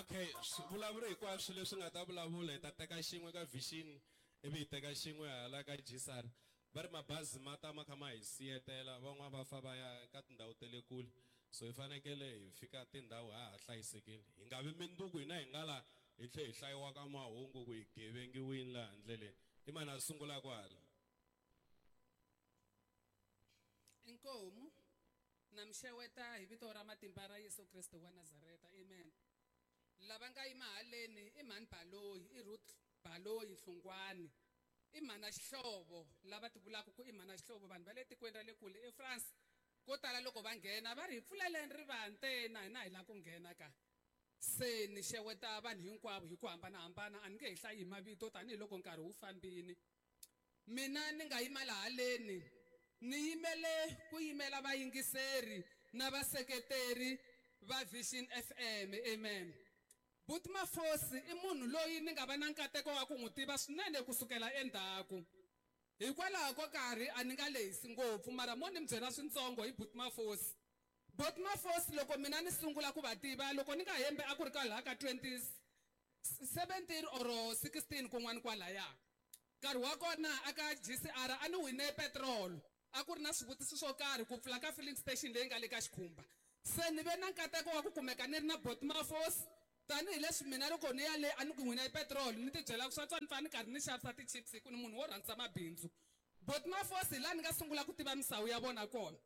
Okay, swivulavuri hinkwaswo leswi nga ta vulavula hi ta teka xin'we ka Vision ivi hi teka xin'we hala ka GCR. Va ri mabazi ma ta ma kha ma hi siyetela van'wana va fa va ya ka tindhawu ta le kule. So hi fanekele hi fika tindhawu ha ha hlayisekile. Hi nga vi minduku hina hi nga la hi tlhe hi hlayiwa ka mahungu ku hi gevengiwini laha ndleleni. I mani a sungulaka hala? Inkomu na mi xeweta hi vito ra matimba ra Yesu Kreste wa Nazareta. Amen. Lava nga yima haleni i mhani Baloyi, i Ruth Baloyi Hlungwani. I mhana Xihlovo lava ti vulaka ku i mhana Xihlovo vanhu va le tikweni ra le kule eFrance. Ko tala loko va nghena va ri hi pfuleleni rivanti na hina hi lava ku nghena ka. Se ni xeweta vanhu hinkwavo hi ku hambanahambana a ni nge hi hlayi hi mavito tanihiloko nkarhi wu fambini. Mina ni nga yima laha leni ni yimele ku yimela vayingiseri na vaseketeri va Vision FM. Amen. Buti Mafosi i munhu loyi ni nga va na nkateko wa ku n'wi tiva swinene ku sukela endzhaku. Hikwalaho ko karhi a ni nga lehisi ngopfu mara mo ni mi byela swintsongo hi Buti Mafosi. Buti Mafosi loko mina ni sungula ku va tiva loko ni nga hembi a ku ri kwalaha ka 2017 or 16 kun'wana kwalaya. Nkarhi wa kona aka GCR a ni wine petrol. A ku ri na swivutiso swo karhi ku pfula ka filling station leyi nga le ka Xikhumba. Se ni ve na nkateko wa ku kumeka ni ri na Buti Mafosi tanihileswi mina loko ni ya le a ni ku wina petrol ni ti byela ku swa tswa ni pfa ni karhi ni xavisa ti-chips hi ku ni munhu wo rhandza mabindzu. Buti Mafosi hi laha ni nga sungula ku tiva misawu ya vona kona.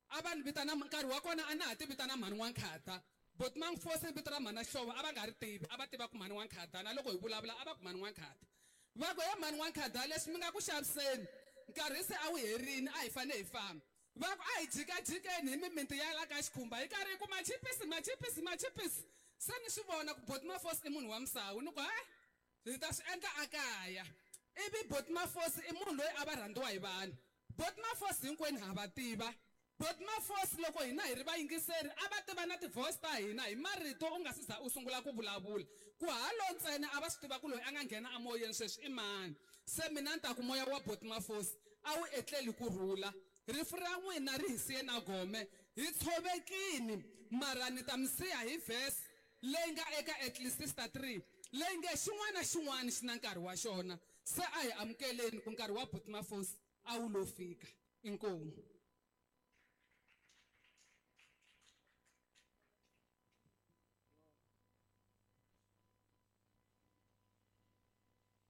A va ni vitana nkarhi wa kona a na ha ti vitana mhani wa Nkhata. Buti Mafosi vito ra mhana Xihlovo a va nga ri tivi, a va tiva ku mhani wa Nkhata na loko hi vulavula a va ku mhani wa Nkhata. Va ku he mhani wa Nkhata leswi mi nga ku xaviseni nkarhi se a wu herini a hi fane hi famba. Va ku a hi jikajikeni hi mimiti ya la ka Xikhumba hi karhi hi ku machipisi machipisi machipisi. Se ni swi vona ku Buti Mafosi i munhu wa misawu ni ku hayi hi ta swi endla a kaya. Ivi Buti Mafosi i munhu loyi a va rhandziwa hi vanhu. Buti Mafosi hinkwenu ha va tiva. Buti Mafosi loko hina hi ri vayingiseri a va tiva na ti-voice ta hina hi marito u nga si za u sungula ku vulavula. Ku halo ntsena a va swi tiva ku loyi a nga nghena emoyeni sweswi i mani. Se mina ni ta ku moya wa Buti Mafosi a wu etleli ku rhula. Rifu ra n'wina ri hi siye na gome. Hi tshovekini mara ni ta mi siya hi verse leyi nga eka Ecclesiastes 3 leyi nge xin'wana na xin'wana xi na nkarhi wa xona. Se a hi amukeleni ku nkarhi wa Buti Mafosi a wu lo fika. Inkomu.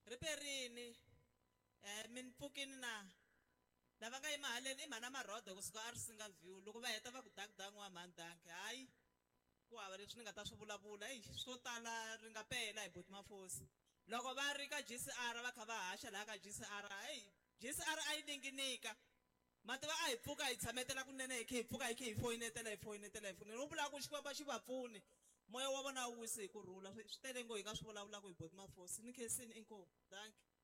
Riperini mi ni pfukini na lava nga yima haleni i mhana Marhodo kusuka a Risinga View loko va heta va ku dank dank wa mhani dank hayi ku hava leswi ni nga ta swi vulavula eyi swo tala ri nga pela hi Buti Mafosi loko va ri ka GCR va kha va haxa laha ka GCR eyi GCR a yi ninginika ma tiva a hi pfuka hi tshametela kunene hi khe hi pfuka hi khe hi foyinetela hi foyinetela hi foyinetela u vula ku Xikwembu a xi va pfuni moya wa vona wu wisi hi ku rhula swi tele ngo hi nga swi vulavulaka hi Buti Mafosi ni khensini inkomu dankie.